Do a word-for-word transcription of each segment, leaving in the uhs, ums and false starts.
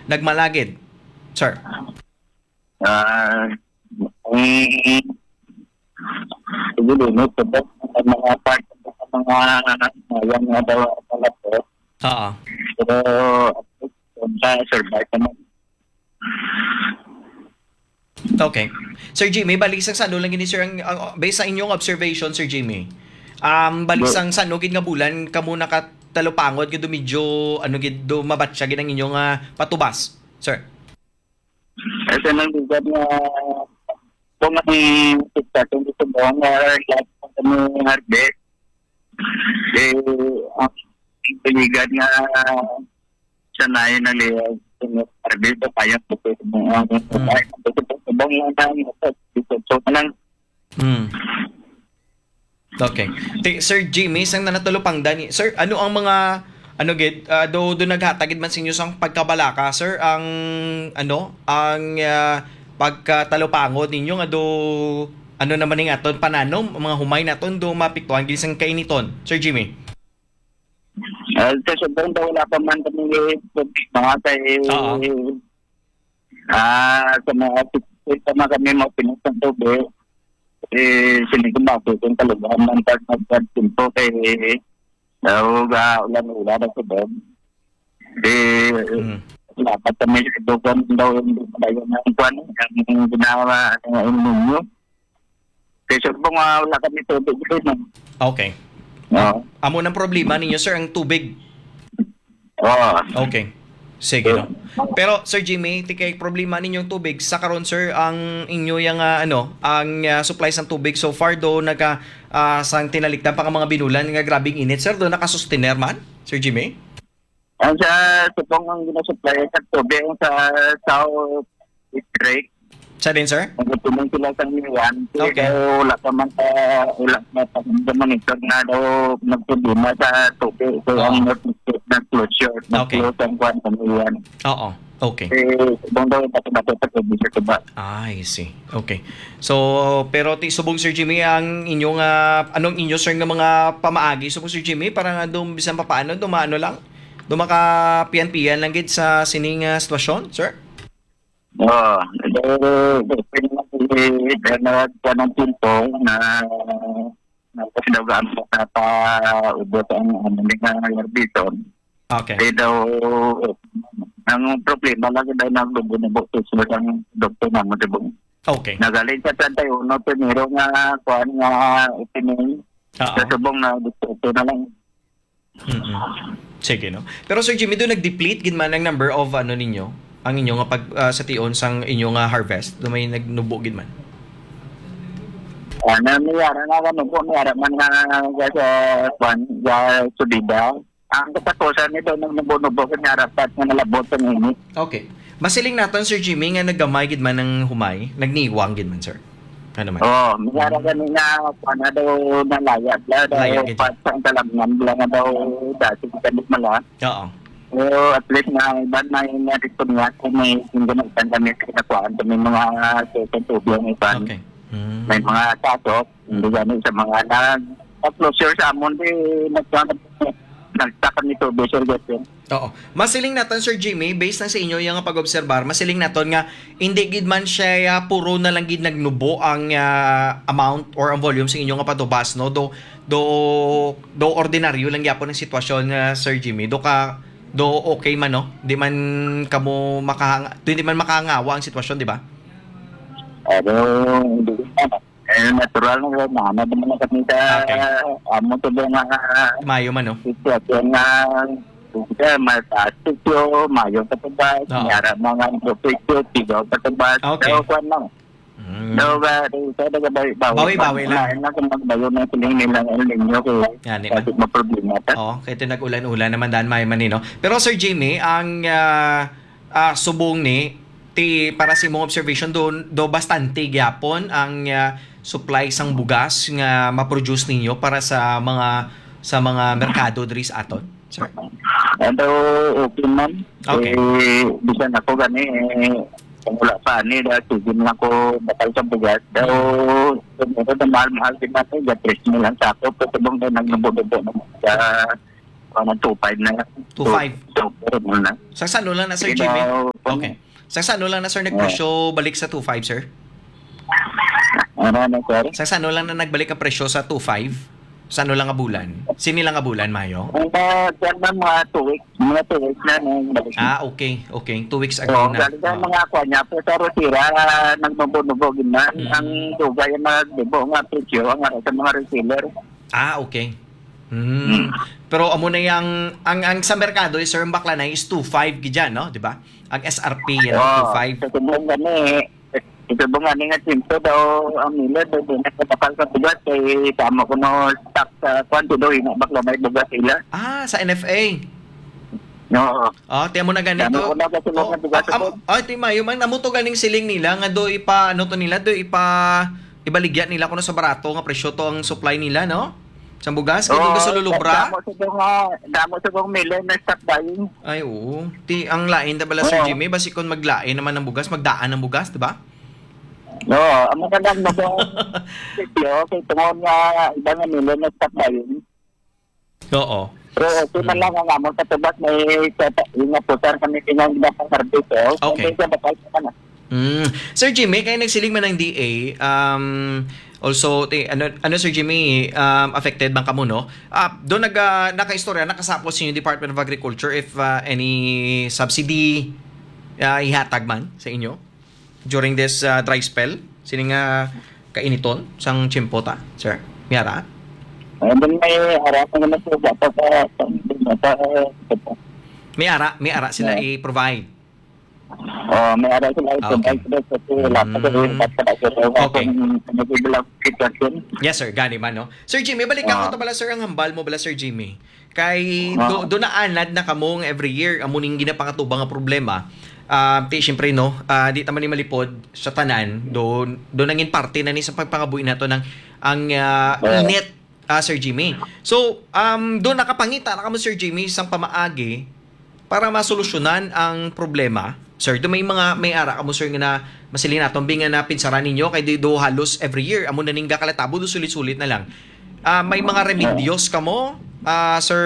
Nagmalagid, sir? Ah, ang siguro, no, sa mga part, sa mga, mga daw, mga to. Oo. Pero, sa survive naman. Okay. Sir Jimmy, balik sa ano lang gini, sir, ang, ang, based sa inyong observation, Sir Jimmy, um, balik Bro. Sa ano gid nga bulan kamo nakatalupangon gid, medyo, ano gid, do mabatya gid ang inyong, ah, patubas, sir? Ito nang lugar nga kung ang sitwasyon dito ba nga lahat ng kami harvest, eh, ang piligan nga sanayan na liya, harvest, kaya po po ang Mm. Ay, ang po po po bang lang tayo, so, so, lang. Mm. Okay. Ti, Sir Jimmy, sang nanatulupangdan ni, sir, ano ang mga, ano gid, ah, do, do naghatag gid man sa inyo sang pagkabalaka, sir, ang, ano, ang, ah, pagkatalupangon ninyo nga do, ano naman ning aton pananom, ang mga humay naton do mapiktuhan gid sang kainiton, Sir Jimmy? Ah, sa subong daw wala pa man kami problema kay, Oo. Ah, sa mga six feet pa man kami mapinos ng tubig, eh, sini ko ba kung kalugahan man pag magpagtimpo kay daw ga ulan-ulan na subong. Eh, Mm. Dapat kami sa dugang daw yung dayon ng kwan, ang ginawa, ano, El Nino. Kay sure po nga wala kami tubig dito, no? Okay. Oo. Amo nang problema ninyo, sir, ang tubig. Oo. Okay. Sige, no? Pero, Sir Jimmy, ti kay problema ninyong tubig, sa karon, sir, ang inyo yang, ah, ano, ang, ah, supply sang tubig so far do naka, ah, sang tinalikdan pa nga mga binulan nga grabing init, sir, do nakasustener man, Sir Jimmy? Ang sa subong ang ginasupply sa tubig ang sa South District. Sa din, sir? Nagtutuloy sila sa Niwan. Okay. Pero wala pa man sa, wala pa pa sa monitor na daw nagproblema sa tubig. So, Oo. Ang North District na closure, Okay. Nag-close ang kwan sa Niwan. Oo. Okay. Eh, subong daw yung pati-pati sa tubig sa tuba. Ah, I see. Okay. So, pero ti subong, Sir Jimmy, ang inyong, ah, anong inyo, sir, nga mga pamaagi? Subong, Sir Jimmy, para nga dum-, bisan pa paano, dumaano lang? Do makapian-pian lang gid sa sining, ah, sitwasyon, sir? Oo. Pero, okay naman, eh, na, na, ng timpo na, na, na, na, paubos ang, ano, ni nga Larbiton. Okay. Kaya daw, ang problema lang daw nagbubo-nubo sa isla ang doktor naman sa buong. Okay. Nagaling sa treinta y uno, primero nga, kuan nga, opening. Oo. Sa subong na, doktor na lang. Mm-mm. Sige, no? Pero, Sir Jimmy, do nag-deplete gid man ang number of, ano ninyo? Ang inyo nga pag, ah, sa tion sang inyo nga harvest? Do may nagnubo gid man? Ah, na, may ara na, ano po, may ara man nga, nga sa, kwan, nga subida. Ang katapusan nito, nang nubo-nubo, kanya rapat nga nalabot ang init. Okay. Masiling naton, Sir Jimmy, nga naggamay gid man ang humay, nagniwang gid man, sir. Ano man? Oo, may ara Mm. gani nga, kwan na daw, nalaya, bla, daw, Laya gid. Pat sang kalamnan, bla, nga daw, dati kita di mala. Oo. Pero at least na, iban na yung narito niya, kung may, yung ganagtan kami, kinakuhaan kami mga, sa, sa tubig ang iban. Okay. Mm. May mga kaso, hindi gani sa mga nag-, closure sa amon, di, nagkuhaan, nagtakan nito, Sir Justin. Oo. Masiling naton, Sir Jimmy, based na sa inyo yung pag-obserbar, masiling naton nga hindi gid man siya, ah, puro na lang gid nagnubo ang, ah, amount or ang volume sa inyo nga patubas, no? Do, do, do ordinaryo lang gyapon ang sitwasyon, ah, Sir Jimmy. Do ka, do okay man, no? Di man kamo makahanga-, di man makahangawa ang sitwasyon, di ba? Ano, hindi ko alam. Eh, natural na yun. Nahanap naman na kami sa Okay. amo to ba nga Mayo man, no? Sitwasyon nga, kung siya, mataas sityo, mayo sa tabas, Oo. May ara mga presyo, tigaw sa tabas. Okay. Daw, kwan lang. Mm. Daw, ba, daw, sa daw, ba, bawi, Bawi-bawi lang. Lain na kung magbayo ng siling nilang El Nino, kay Yan, di ba? Bakit maproblema ta? Oo, kay ito nag-ulan-ulan naman daan, may man, eh, no? Pero, Sir Jimmy, ang, ah, ah, subong ni, ti, para sa imong observation, do, do bastante gyapon ang, ah, supply sang bugas nga ma-produce ninyo para sa mga, sa mga merkado diri sa aton, sir? Ano, okay, ma'am. Okay. Eh, bisan ako gani, eh, kung wala pa ani, dahil sige na ako bakal sa bugas. Daw, Mm. Siguro na mahal-mahal din natin, ya tres mil ang sako, pero kung daw nagnubo-nubo naman sa, ano, two five na lang. Two five. So, so, pero muna. Sa salo lang na, Sir Jimmy? Daw, Okay. Sa sano lang na, sir, nagpresyo balik sa two five, sir? Ano na, sir? Sa sano lang na nagbalik ang presyo sa two five? Sa ano lang nga bulan? Sini lang nga bulan, Mayo? Ang, ah, dyan na mga two weeks. Mga two weeks na nang balik. Ah, okay. Okay. Two weeks ago Oo, na. Galing na Oo. Mga kwan niya. Pero sa Rosira, ah, nagbubunubog na. Mm. Ang dugay ang nagbubo nga presyo, ang ara sa mga reseller. Ah, okay. Mm. Mm. Pero amo na yang, ang, ang sa merkado, eh, sir, ang bakla na is two five gid yan, no? Di ba? Ang S R P yan, Oo, two five. Sa subong gani, sa subong gani nga tiyempo daw ang milad, daw di na kapakal sa bugas, kay tama ko no stock sa kwan, daw ina bakla may bugas sila. Ah, sa N F A. Oo. Ah, tiyan mo na ganito. Tama ko na, kasi Oh, mga bugas ah, am-, ako. Ah, ti Mayo man, amo to ganing siling nila nga do ipa, ano to nila, do ipa, ibaligya nila kuno sa barato nga presyo to ang supply nila, no? Sa bugas, kay Oo, di ka sa lulubra? Damo sa mga, damo sa mga milay na stock buying. Ay, oo. Ti, ang lain na bala, Sir Oo. Jimmy, basi kung maglain naman ang bugas, magdaan ang bugas, di ba? Oo, amo ka lang na ba? Sityo, kay tungod nga iba nga milay na stock buying. Oo. Pero okay man Mm. lang ang amo sa tubas, may sa, yung nga putar kami tinang iba sa harvest, oh. Okay. Hindi siya bakal sa kanan. Mm. Sir Jimmy, kay nagsiling man ang D A, um, also, ti-, ano, ano, Sir Jimmy, um, affected man kamo, no? Ah, do nag, ah, nakaistorya, nakasapos sa inyo Department of Agriculture if, ah, any subsidy, ah, ihatag man sa inyo during this, ah, dry spell? Sini nga kainiton sang tiyempo ta, sir? May ara? Ay, dun may ara pa naman po, dapat, ah, dapat, ah, May ara, may ara sila Yeah. i-provide. Oh, may ara sila Ah, okay. i-provide sila kasi wala pa sa Mm. yung dapat sa Okay. kung nag-develop sitwasyon. Yes, sir. Gani man, no? Sir Jimmy, balik ako Ah. to pala, sir, ang hambal mo bala, Sir Jimmy. Kay Ah. do, do naanad na kamo nga every year, amo ning ginapangatuba nga problema. Ah, ti, siyempre, no, ah, di ta man ni malipod sa tanan, do, do nangin parte na ni sa pagpangabuhi nato ng ang, ah, Oo. init, ah, Sir Jimmy. So, um, do nakapangita na kamo, Sir Jimmy, sang pamaagi para masolusyonan ang problema, sir? Do may mga, may ara kamo, sir, nga na masiling naton, bi nga napinsaran ninyo kay di do halos every year amo na ning gakalatabo, do sulit-sulit na lang. Ah, may mga remedyos kamo, ah, Sir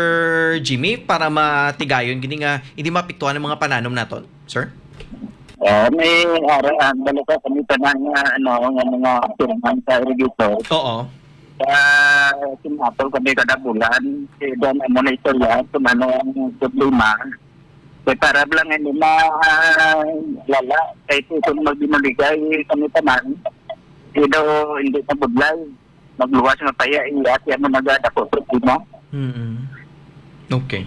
Jimmy, para matigayon gini nga hindi mapiktuhan ang mga pananom naton, sir? Ah, may ara, ah, balo ka kami tanan nga, ano, nga mga firman sa irrigator. Oo. Sa Singapore kami kada bulan, si Don amo na istorya kung ano ang problema. Kay para lang hindi ma, ah, lala, kay kung magbinuligay kami tanan, di daw, hindi na budlay. Magluwas nga paya, iya siya mo nagadako problema. Mm-mm. Okay.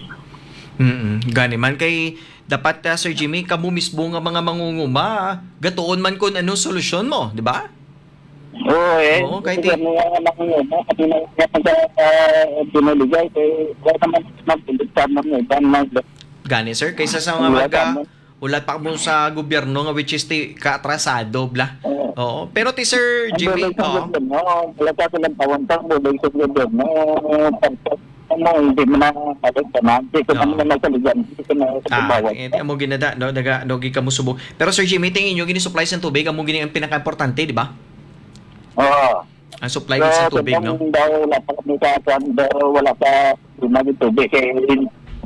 Mm-mm. Gani man kay dapat, ah, Sir Jimmy, kamo mismo nga mga mangunguma, gatuon man kun ano solusyon mo, di ba? Oo, eh. Oo, kay Kasi ti- kami nga nangunguma, kami na, nga nag-, ah, binuligay, kay wala naman magpindot sa mga iban na Gani, sir, kaysa sa mga Wala mag-, ah, tama. Wala pa mo sa gobyerno nga, which is ti kaatrasado, bla. Oo. Oo. Pero ti Sir Ang Jimmy, bulig sa oo. Gobyerno, wala pa silang pawantang bulig sa gobyerno. Tapos, ano, hindi mo na balik ka na. Hindi ko Oo. naman na masaligan. Hindi ko na Ah, kasabawat. Eh, di amo ginada, no? Naga, no, gi kamo subong. Pero Sir Jimmy, tingin nyo, gini supply sa tubig, amo gini ang pinaka-importante, di ba? Oo. Ang supply So, sa tubig, no? Kung daw wala pa kami sa, kung daw wala pa, di na yung tubig, kay,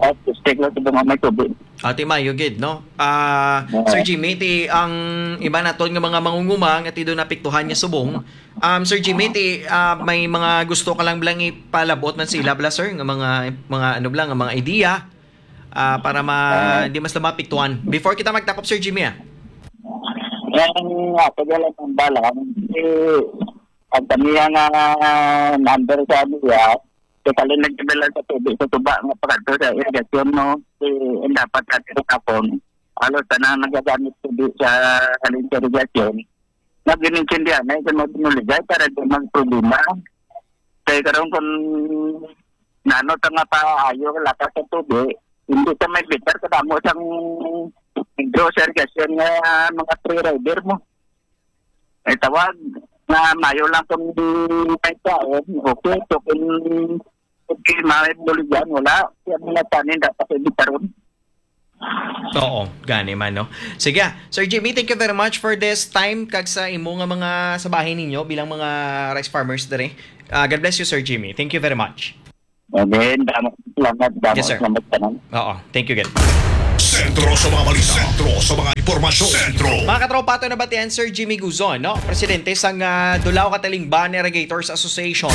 ah, stick lang sa mga may tubig. Ate Mayo gid, no? Ah, Oo. Sir Jimmy, ti ang iba naton nga mga mangunguma nga ti do napiktuhan nga subong. Um, Sir Jimmy, ti, ah, may mga gusto ka lang blang ipalabot man sila bla, sir, nga mga, mga ano bla, nga mga idea, ah, para ma-, Oo. di mas lumapiktuhan. Before kita magtakop, Sir Jimmy, ah. Ang, ah, pagdala ng bala, eh, ang kami nga number sa niya, Kay kali nagdala sa tubig sa tuba nga pakadto sa irigasyon, no? Si, ang dapat ka sa tapon, halos tanan nagagamit tubig sa halin sa irigasyon. Nag-inintindihan na sa mga binuligay para di magproblema. Kay karon kung nano ta nga paayo lakas sa tubig, hindi ta may bitar kadamo sang hidro sa irigasyon nga mga free rider mo. Ay tawag na mayo lang kung may taon, okay. So kung okay, may buligan, wala. Kaya mga tanin dapat ibitaron. Oo, gani man, no? Sige, ah. Sir Jimmy, thank you very much for this time kag sa imo nga mga sa bahin ninyo bilang mga rice farmers diri. Ah, God bless you, Sir Jimmy. Thank you very much. Again, damo salamat, damo Yes, sir. salamat tanan. Oo, thank you, good. Sentro sa mga balita. Sentro sa mga impormasyon. Sentro. Mga katropa, ato nabatian, Sir Jimmy Guzon, no? Presidente sang, ah, Dulao ka Talimban Irrigators Association.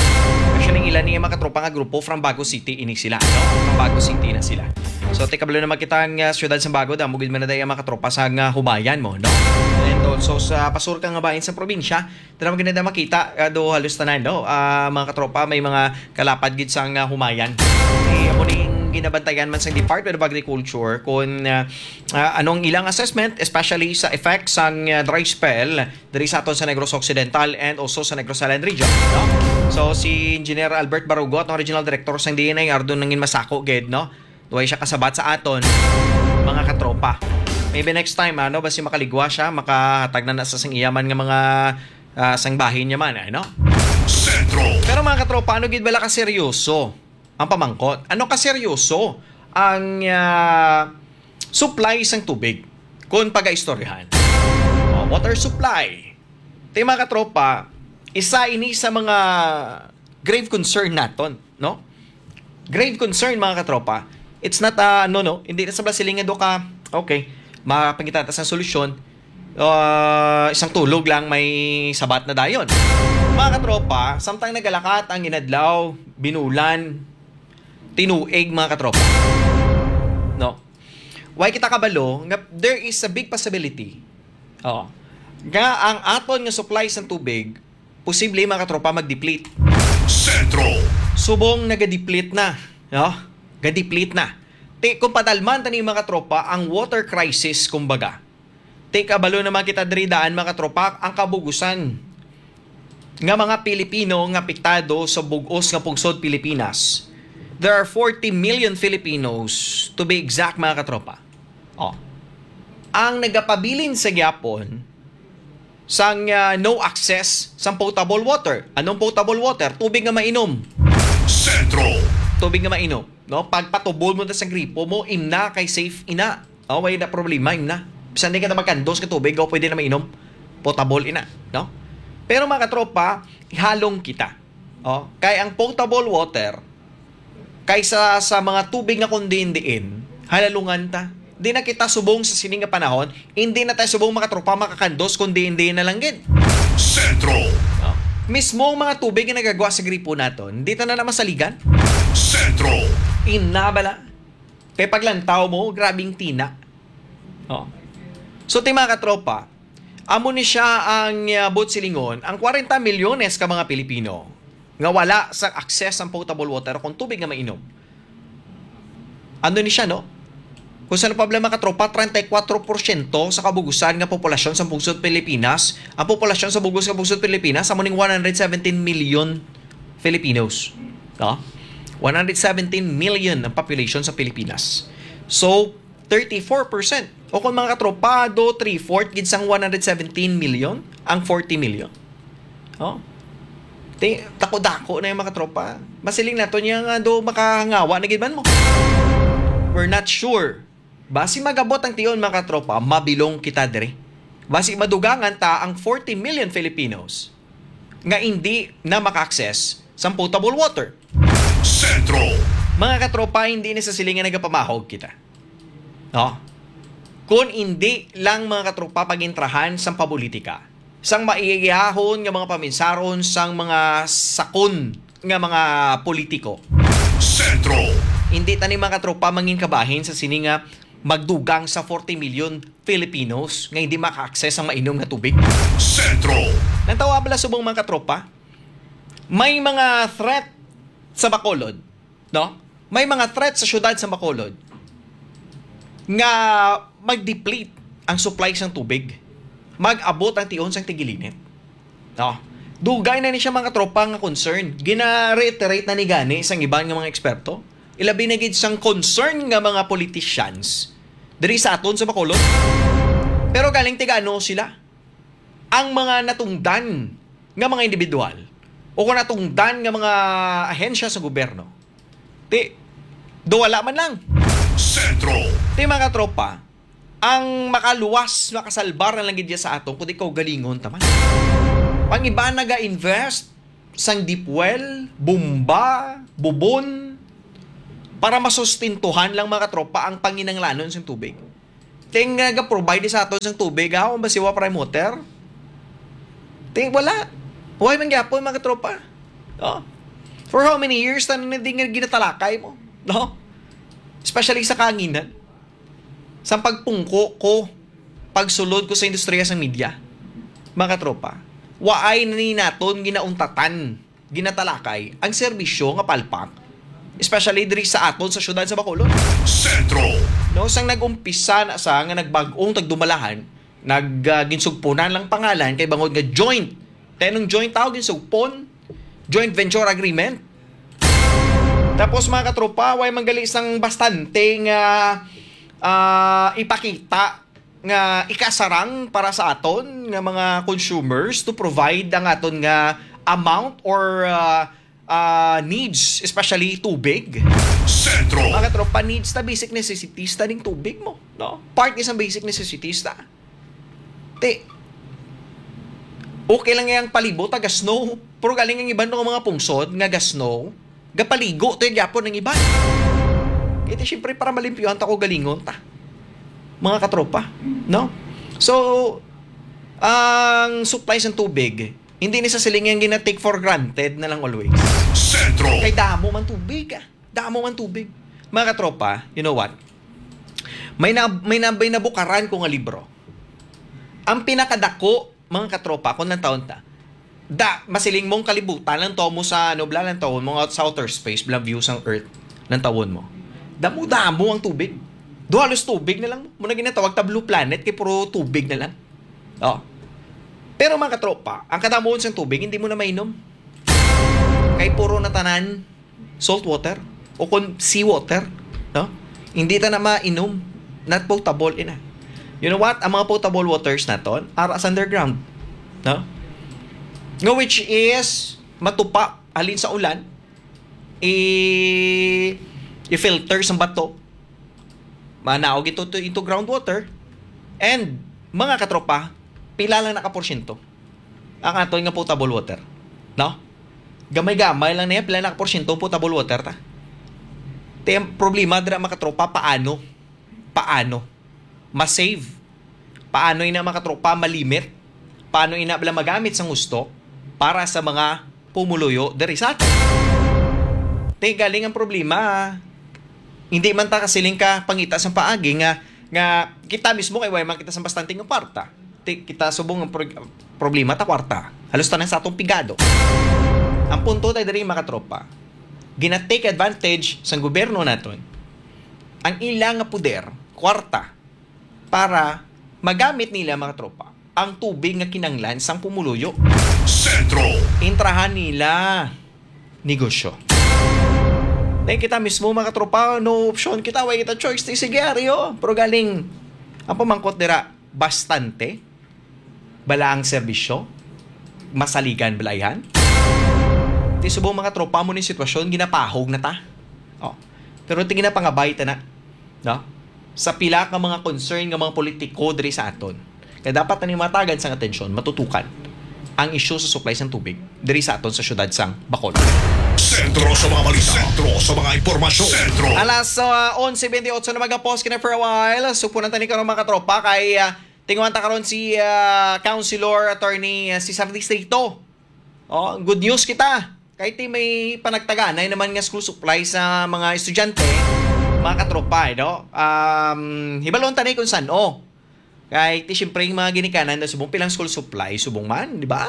Actually, ila ni mga katropa nga grupo from Bago City ini sila, no? From Bago City na sila. So, ti kabalo na makita ang, ah, siyudad sa Bago, damo gid man na dai ang mga katropa sa nga humayan mo, no? And also sa pasur ka nga bahin sa probinsya, Tara, maganda na makita, ah, do halos tanan, no? Ah, mga katropa, may mga kalapad gid sang, ah, humayan. Eh, amo ning ginabantayan man sang Department of Agriculture kung, ah, ah, anong ilang assessment, especially sa effect sang, ah, dry spell diri sa aton sa Negros Occidental and also sa Negros Island region, no? So, si Engineer Albert Barugot, ang regional director sang D N I, ardon nangin masako gid, no? Way siya kasabat sa aton, mga katropa. Maybe next time, ano, basi makaligwa siya, makahatag na na sa sang iya man nga mga, ah, sang bahin niya man, ano? Sentro. Pero, mga katropa, ano gid bala ka seryoso ang pamangkot? Ano ka seryoso ang, ah, supply sang tubig kung pagaistoryahan? Oh, water supply. Ti, mga katropa, isa ini sa mga grave concern naton, no? Grave concern, mga katropa. It's not, ah, no, no. Hindi na sa silingan do ka, okay, mapangita ta sang solusyon. Ah, isang tulog lang may sabat na dayon. Mga katropa, samtang nagalakat ang inadlaw, binulan, tinuig, mga katropa. No? Why kita kabalo nga there is a big possibility, oh, nga ang aton nga supply sang tubig posible, mga katropa, mag-deplete. Sentro. Subong nagadeplete na, no? Gadeplete na. Ti, kung padalman tani, mga katropa, ang water crisis, kumbaga. Ti, kabalo naman kita diri daan, mga katropa, ang kabugusan nga mga Pilipino nga apektado sa bug-os nga pungsod Pilipinas. There are forty million Filipinos, to be exact, mga katropa. Oh. Ang nagapabilin sa gyapon sang, ah, no access sang potable water. Anong potable water? Tubig nga mainom. Sentro. Tubig nga mainom, no? Pagpatubol mo na sa gripo mo, imna kay safe ina. Oh, way na problema, imna. Bisan di ka na magkandos ka tubig, oh, pwede na mainom. Potable ina, no? Pero, mga katropa, ihalong kita. Oh, kay ang potable water, kaysa sa mga tubig nga kung diin-diin, halalungan ta. Di na kita subong sa sini nga panahon, hindi na tayo subong, mga tropa, makakandos kung diin-diin na lang gid. Sentro. No? Mismo ang mga tubig nga nagagwa sa gripo naton, hindi ta na, na masaligan. Sentro. Ina bala. Kay paglantaw mo, grabing tina. Oh. So, ti, mga katropa, amo ni siya ang, ah, buot silingon, ang kwarenta milyones ka mga Pilipino nga wala sa access sang potable water o kung tubig nga mainom. Ano ni siya, no? Kung sa problema, katropa, treinta y cuatro porsyento sa kabugusan nga populasyon sa bungsod Pilipinas, ang populasyon sa bugos nga bungsod Pilipinas, amo ning one hundred seventeen million Filipinos. No? One hundred seventeen million ang population sa Pilipinas. So, thirty-four percent. O kung, mga katropa, do three-fourth gid sang one hundred seventeen million, ang forty million. Oh? Ti, dako-dako na yung, mga katropa. Masiling nato niya nga do makahangawa na gid man mo. We're not sure. Basi magabot ang tion, mga katropa, mabilong kita diri. Basi madugangan ta ang forty million Filipinos nga hindi na maka-access sa potable water. Sentro. Mga katropa, hindi ni sa silingan nagapamahog kita. No? Kung hindi lang, mga katropa, pagintrahan sang pabulitika, sang maiyahon nga mga paminsaron sang mga sakon nga mga politiko. Sentro. Hindi tani, mga katropa, mangin kabahin sa sini nga magdugang sa forty million Filipinos nga hindi maka-access ang mainom nga tubig. Sentro. Nantawa bala subong, mga katropa? May mga threat sa Bacolod, no? May mga threat sa siyudad sa Bacolod nga mag-deplete ang supply sang tubig. Mag-abot ang tion sang tigilinit. No? Dugay na ni siya, mga tropa, nga concern. Gina-reiterate na ni gani sang iban nga mga eksperto. Ilabi na gid sang concern nga mga politicians diri sa aton sa Bacolod. Pero galing tiga-ano sila? Ang mga natungdan nga mga individual o kung natungdan nga mga ahensya sa gobyerno, ti, do wala man lang. Sentro. Ti, mga tropa, ang makaluwas, makasalbar na lang gid sa aton, kundi kaugalingon ta man. Ang iba naga-invest sang deep well, bomba, bubon, para masustintuhan lang, mga tropa, ang panginanglanon sang tubig. Ting, uh, ga-provide sa aton sang tubig, ha? Kung ba siwa prime water? Ting, wala. Why man gyapon, mga katropa? Oh. For how many years na na di nga ginatalakay mo? No? Especially sa kanginan. Sa pagpungko ko, pagsulod ko sa industriya sa media, mga katropa, waay na ni naton ginauntatan, ginatalakay ang serbisyo nga palpak, especially diri sa aton sa siyudad sa Bacolod. Sentro. No, sang nag-umpisa na sa nga nagbag-ong tagdumalahan, nag, ah, ginsugpunan lang pangalan kay bangod nga joint. Kay nung joint tawag ginsugpon, joint venture agreement. Tapos, mga katropa, way manggali sang bastante nga, ah, ipakita nga ikasarang para sa aton nga mga consumers to provide ang aton nga amount or, ah, ah, needs, especially tubig. Sentro. Mga katropa, needs ta, basic necessities ta ning tubig mo, no? Part ni sa basic necessities ta. Ti, okay lang yang palibot, taga snow. Pero galing ang iban nga mga pungsod nga ga snow, gapaligo to gyapon ang iban. Kaya siyempre, para malimpyuhan ta ko galingon ta, mga katropa, no? So, ang supply sa tubig, hindi ni sa siling yang gina-take for granted na lang always. Sentro. Kay damo man tubig, ah. Damo man tubig. Mga katropa, you know what? May na, may na, may nabukaran ko nga libro. Ang pinakadako, mga katropa, kung lang taon ta, da, masiling mong kalibutan lang to mo sa, ano, bla, lang taon mo sa outer space, bla, view sang Earth, lang taon mo. Damo-damo ang tubig. Do halos tubig na lang. Muna ginatawag ta blue planet, kay puro tubig na lang. Oh. Pero, mga katropa, ang kadamuon sang tubig, hindi mo na mainom. Kay puro na tanan salt water o kon sea water, no? Hindi ta na mainom, not potable ina. You know what? Ang mga potable waters naton ara sa underground, no? Nga which is matupa halin sa ulan, i i-filter sa bato, manaog ito to, into groundwater, and mga katropa, pila lang na ka porsyento ang aton nga potable water, no? Gamay-gamay lang niya, pila na ka porsyento potable water ta. Ti ang problema dira, mga katropa, paano? Paano ma-save? Paano ina, mga katropa, malimit? Paano ina bala magamit sang husto para sa mga pumuluyo diri sa aton? Ti galing ang problema. Hindi man ta kasiling ka pangita sang paagi nga, nga kita mismo kay way man kita sang bastante nga kwarta. Ti, kita subong ang pro-, problema ta kwarta. Halos tanan sa atong pigado. Ang punto tayo diri, mga katropa, gina-take advantage sang gobyerno naton ang ila nga poder, kwarta, para magamit nila, mga katropa, ang tubig nga kinanglan sang pumuluyo. Sentro. Intrahan nila negosyo. Then kita mismo, mga katropa, no option kita, way kita choice, ti sige, ari, oh. Pero galing, ang pamangkot dira, bastante bala ang serbisyo, masaligan bala yan. Ti subong, mga tropa, mo ni sitwasyon, ginapahog na ta. Oh. Pero ti ginapangabay ta na, no? Sa pila ka mga concern nga mga politiko diri sa aton, kaya dapat na ni matagan sang atensyon, matutukan ang isyu sa supply sang tubig diri sa aton sa siyudad sang Bacolod. Sentro sa mga balita. Sentro sa mga impormasyon. Sentro. Alas, uh, onse bentiocho na, magapos kina for a while. Supunan tani karon, mga katropa, kay, uh, tinguhan ta karon si, uh, Councilor Attorney, uh, Cesar Distrito. Oh, good news kita. Kay ti may panagtaganay naman nga school supply sa mga estudyante, mga katropa, eh, no? Um, hibalon tani kung san, oh. Kay ti siyempre yung mga ginikanan na subong pilang school supply, subong man, di ba?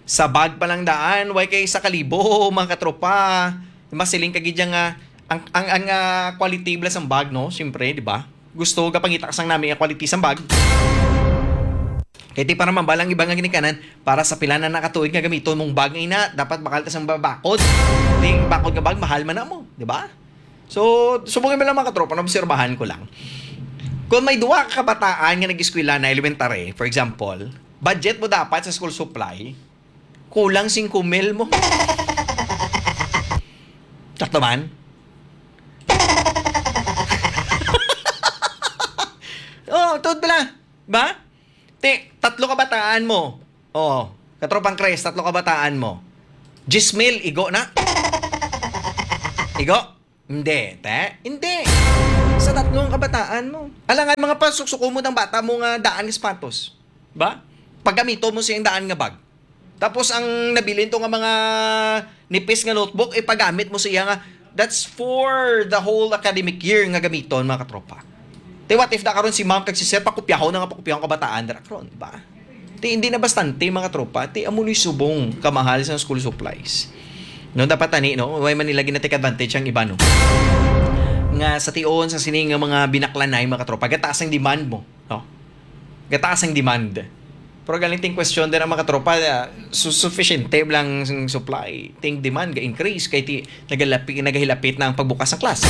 Sa bag pa lang daan, way kay sa kalibo, mga katropa. Masiling ka gid nga ang, ang, ang, ah, quality bala sang bag, no? Siyempre, di ba? Gusto gapangita sang nami ang quality sang bag. Kay ti para mambal ang iba nga ginikanan, para sa pila na nakatuig nga gamiton mong bag nga ina, dapat bakal ka sang babakod. Ti bakod nga bag, mahal man na mo, di ba? So, subong lang, mga katropa, naobserbahan ko lang. Kung may duha ka kabataan nga nag-eskwela na elementary, for example, budget mo dapat sa school supply, kulang singko mil mo. Sakto man? Oh, tuod pala. Ba? Ti, tatlo kabataan mo. Oh, katropang Chris, tatlo kabataan mo. Diyes mil, igo na? Igo? Hindi, te. Hindi. sa tatlong kabataan mo. Alangan, mga pasuksuko mo ng bata mo nga daan nga sapatos. Ba? Paggamito mo siyang daan nga bag. Tapos ang nabilin to nga mga nipis nga notebook, ipagamit mo siya nga, that's for the whole academic year nga gamiton, mga katropa. Te, what if na karon si ma'am kag si sir pakopyahon na nga pakopyahon kabataan dira karon, di ba? Te, hindi na bastante, mga tropa. Te, amo ni subong kamahal sa school supplies. No, dapat ani, no? Why man nila gina-take advantage ang iba, no? Nga sa tion sa sini nga mga binaklanay, mga tropa, gataas ang demand mo, no? Gataas ang demand. Pero galing ting question din ang mga tropa, ah, su-, sufficiente lang ang supply, ting demand ga-increase kay ti nagalapi-, nagahilapit na ang pagbukas ng klase.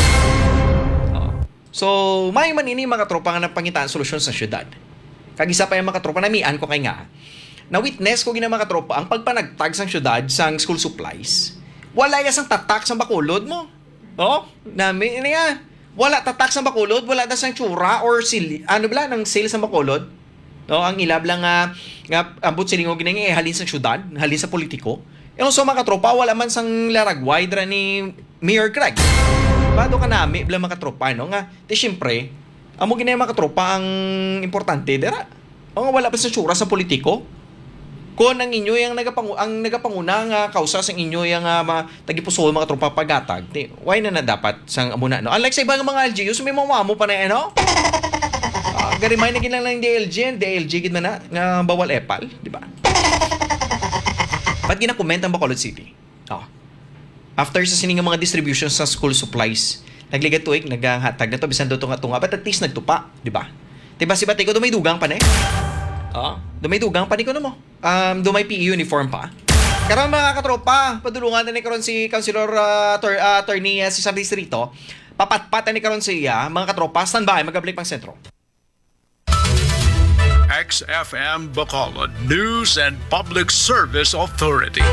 Oh. So, may man ini, mga tropa, nga napangitaan solusyon sa syudad. Kag isa pa yung mga tropa, namian ko kay nga, na-witness ko gina, mga tropa, ang pagpanagtag sang syudad sang school supplies. Wala ya sang tatak sang Bacolod mo. Oh, nami ini nga. Wala tatak sang Bacolod, wala na sang tsura or sili, ano bala, nang sale sang Bacolod. No, ang ilab lang nga, nga ambot silingon gina nga, eh, halin sa syudad, halin sa politiko. E, so, mga tropa, wala man sang laragway dira ni Mayor Craig. Bado ka nami bala, mga tropa, no? Nga, di, siyempre, amo gina, mga tropa, ang importante dira. O nga, wala pa sa tsura sa politiko. Kung ang inyo yung nagapangu-, ang nagapanguna nga kausa sang inyo yung, ah, ma-, tagipusoon, mga tropa, pagatag, di, why na na dapat sang amo na, no? Unlike sa ibang mga L G Us, may mga amo pa na, ano? Ah, garimay na gid lang ng D L G, and D L G gid man na, nga bawal epal, di ba? Ba't ginakomment ang Bacolod City? Oh. After sa sini nga mga distribution sa school supplies, nagligad tuig, naghatag na to, bisan daw tunga-tunga, but at least nagtupa, di ba? Di ba, si Batico, dumay dugang pa ni? Oh, dumay dugang pa ni, kuno mo. Um, dumay P E uniform pa. Karon, mga katropa, padulungan na ni karon si Councilor, ah, Ator-, ah, Attorney, ah, si San Distrito. Papatpat na ni karon siya, mga katropa. Standby, magabalik pang sentro. X F M Bacolod News and Public Service Authority.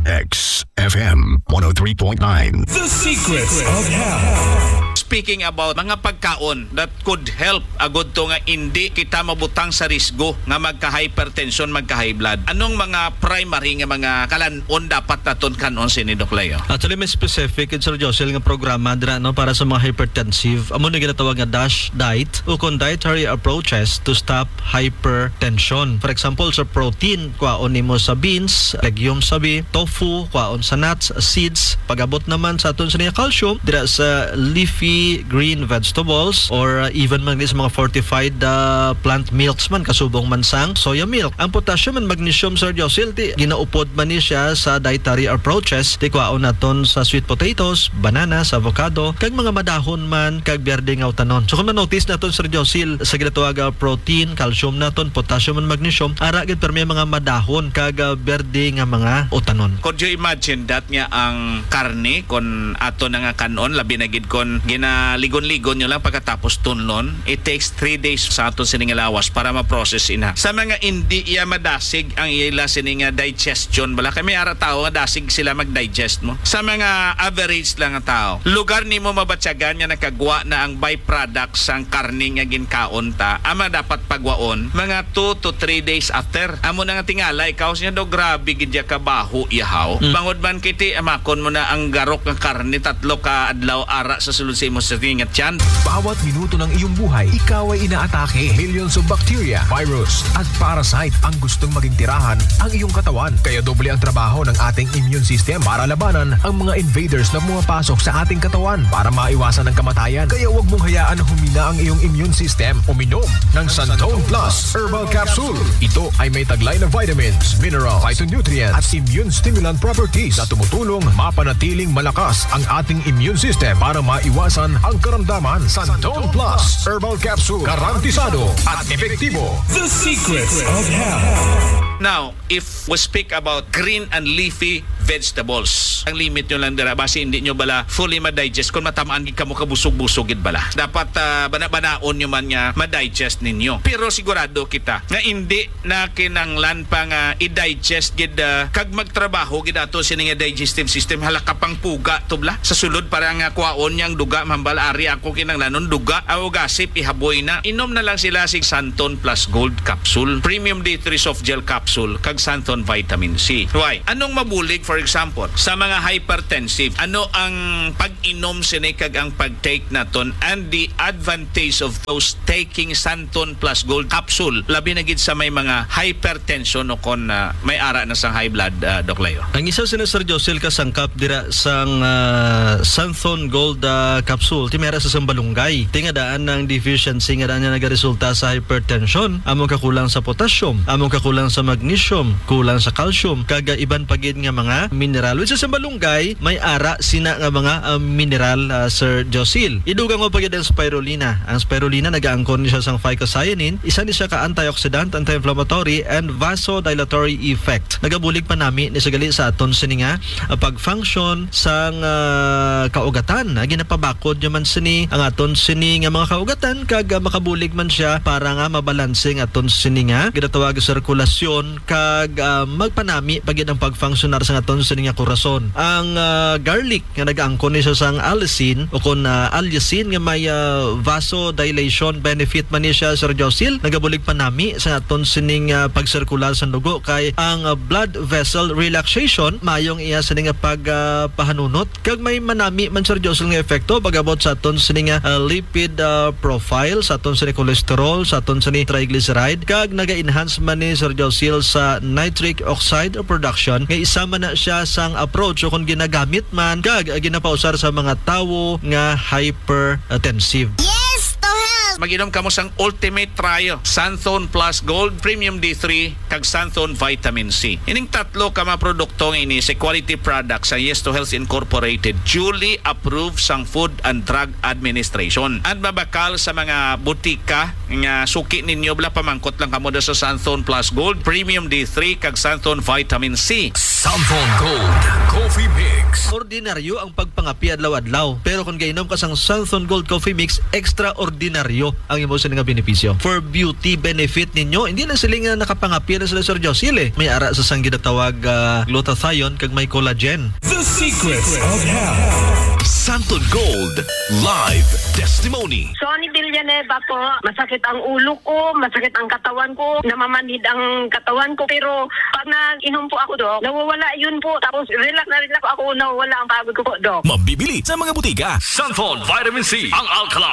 X F M one oh three point nine. The Secrets of Health. Speaking about mga pagkaon that could help agud to nga indi kita mabutang sa risgo nga magka-hypertension, magka-high blood. Anong mga primary nga mga kalan-on dapat naton kan-on sini, Doc Leo? Actually, may specific, Sir Josel, nga programa dira, no, para sa mga hypertensive. Amo na ginatawag nga DASH diet, ukon dietary approaches to stop hypertension. For example, sa protein, kwaon nimo sa beans, legumes sabi, tofu, kwaon sa nuts, seeds. Pag-abot naman sa aton sa niya calcium, dira sa leafy green vegetables or, uh, even man sa mga fortified, uh, plant milks man, kasubong man sang soya milk. Ang potassium and magnesium, Sir Josil, ti ginaupod man ni siya sa dietary approaches, ti kwaon naton sa sweet potatoes, bananas, avocado, kag mga madahon man kag berde nga utanon. So kung ma-notice naton, Sir Josil, sa ginatawag, ah, protein, calcium naton, potassium and magnesium, ara gid permi ang mga madahon kag, ah, berde nga mga utanon. Could you imagine that nga ang karne, kon ato na nga kan-on, labi na gid kon ginaligon-ligon nyo lang pagkatapos tunlon, it takes three days sa aton sini nga lawas para ma-process ina. Sa mga indi iya madasig ang ila sini nga digestion, bala kay may ara tawo nga dasig sila mag-digest mo. Sa mga average lang nga tawo, lugar nimo mabatyagan nga nakagwa na ang byproduct sang karne nga ginkaon ta, ama dapat pagwaon mga two to three days after. Amo na nga tingala ikaw siya do, grabe gid ya kabaho ihaw. Mm. Bangod man kiti, amakon mo na ang garok nga karne tatlo ka adlaw ara sa sulod sa imo sa tinga tiyan. Bawat minuto ng iyong buhay, ikaw ay inaatake. Millions of bacteria, virus, at parasite ang gustong maging tirahan ang iyong katawan. Kaya doble ang trabaho ng ating immune system para labanan ang mga invaders na pumapasok sa ating katawan para maiwasan ang kamatayan. Kaya huwag mong hayaan na humina ang iyong immune system. Uminom ng Santon Plus Herbal Capsule. Ito ay may taglay na vitamins, mineral, phytonutrients, at immune stimulant properties na tumutulong mapanatiling malakas ang ating immune system para maiwasan ang karamdaman. Santon Plus Herbal Capsule, garantisado at epektibo. The Secrets of Health. Now, if we speak about green and leafy vegetables, ang limit nyo lang dira, basi hindi nyo bala fully ma-digest kung matamaan gid kamo kabusog-busog gid bala. Dapat, ah, bana-banaon nyo man nga ma-digest ninyo. Pero sigurado kita nga hindi na kinanglan pa nga i-digest gid, ah, kag magtrabaho gid ato sini nga digestive system. Hala ka pang puga to bala. Sa sulod para nga kwaon niyang duga, mambal ari ako kinanglanon duga. Aw gasip, ihaboy na. Inom na lang sila sig Santon Plus Gold Capsule, Premium D three Soft Gel Capsule, kag Santon Vitamin C. Why? Anong mabulig for For example, sa mga hypertensive, ano ang pag-inom sini kag ang pag-take naton and the advantage of those taking Santon Plus Gold capsule, labi na gid sa may mga hypertension o kon, ah, may ara na sang high blood, ah, Doc Leo? Ang isa sina, Sir Josil, ka sangkap dira sang, ah, Santon Gold, ah, capsule, ti may ara sa sambalunggay. Ti nga daan ang deficiency nga daan nga nagaresulta sa hypertension, among kakulang sa potassium, among kakulang sa magnesium, kulang sa calcium, kag, ah, iban pa gid nga mga mineral. Which is, ang malunggay, may ara sina nga mga, ah, mineral, ah, Sir Josil. Idugang mo pa gid ang spirulina. Ang spirulina, nagaangkon ni siya sang phycocyanin. Isa ni siya ka antioxidant, anti-inflammatory, and vasodilatory effect. Nagabulig pa nami ni siya gali sa aton sini nga, ah, pag-function sang, ah, kaugatan. Ah, ginapabakod niya man sini ang aton sini nga mga kaugatan, kag, ah, makabulig man siya para nga mabalanse ang aton sini nga ginatawag sirkulasyon, kag, ah, magpanami pa gid ang pag-functionar sang aton sini nga korason. Ang, ah, garlic nga nagaangkon ni siya sang allicin o kon, ah, allicin nga may, ah, vasodilation benefit man ni siya, Sir Josil, nagabulig panami sa aton sining, ah, pagsirkular sa dugo, kay ang, ah, blood vessel relaxation maayong iya sini nga pag, ah, pahanunot, kag may manami man, Sir Josil, nga epekto pag-abot sa aton sini nga, ah, lipid, ah, profile, sa aton sini cholesterol, sa aton sini triglyceride, kag naga-enhance man ni, Sir Josil, sa nitric oxide production, nga isa man na siya sang approach o kung ginagamit man kag ginapausar sa mga tawo nga hypertensive. Yes, to help! Mag-inom kamo sang Ultimate Trio, Santhon Plus Gold, Premium D three, kag Santhon Vitamin C. Ining tatlo ka mga produkto nga ini sa quality products sa Yes to Health Incorporated, duly approved sang Food and Drug Administration. And mabakal sa mga butika nga suki ninyo, bala, pamangkot lang kamo da sa Santhon Plus Gold, Premium D three, kag Santhon Vitamin C. Santhon Gold Coffee Mix. Ordinaryo ang pagpangapi adlaw-adlaw, pero kung gainom ka sang Santhon Gold Coffee Mix, extraordinaryo ang imo sini nga benepisyo. For beauty benefit ninyo, hindi lang sila nga nakapangapi na sila, Sir Josil, eh. May ara sa sang ginatawag, ah, glutathione kag may collagen. The Secrets of Health. Santon Gold Live Testimony. Sonny Villanueva po, masakit ang ulo ko, masakit ang katawan ko, namamanhid ang katawan ko. Pero pag nag-inom po ako, Doc, nawawala yun po. Tapos relax na relax ako, nawawala ang pagod ko po, Doc. Mabibili sa mga butika. Santon Vitamin C, ang alkaline.